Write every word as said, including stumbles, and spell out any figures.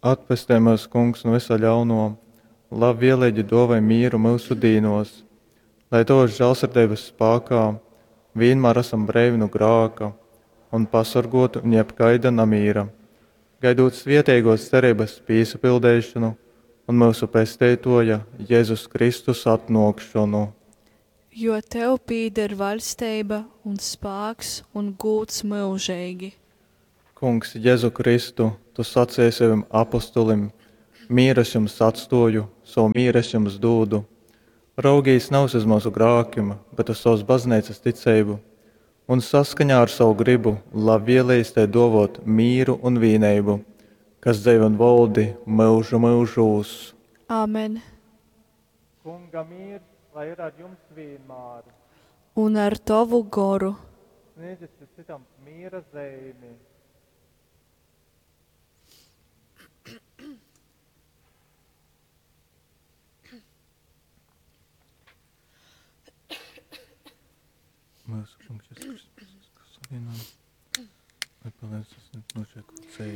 Atpestej myus, Kungs, nu vysa ļaunuo, labvieleigi duovoj mīru myusu dīnuos, lai Tovys žālsirdeibys spākā vīnmār asam breivi nu grāka un pasorguoti nu jebkaida namīra, gaidūt svieteiguos cereibys pīsapildeišonu un myusu Pesteituoja Jezus Kristus atnuokšonu. Jo tev pīder vaļsteiba un spāks un gūds myužeigi. Kungs Jezu Kristu, Tu saceji sovim apostolim, Mīru es jums atstuoju, sovu mīru es jums dūdu. Raugīs navys uz myusu grākim, bet uz sovas bazneicas ticeibu, un saskaņā ar sovu grybu labvieleigi tai duovuot mīru un vīneibu, kas dzeivoj un voldi myužu myužūs. Amen. Kunga mīrs, lai ir ar jums vīnmār. Un ar tovu goru. Sniedziet cytam mīra zeimi. Myusu Kungs Jezus Kristus, kas savienojam, lai palīdz tas nošķiet ceļu.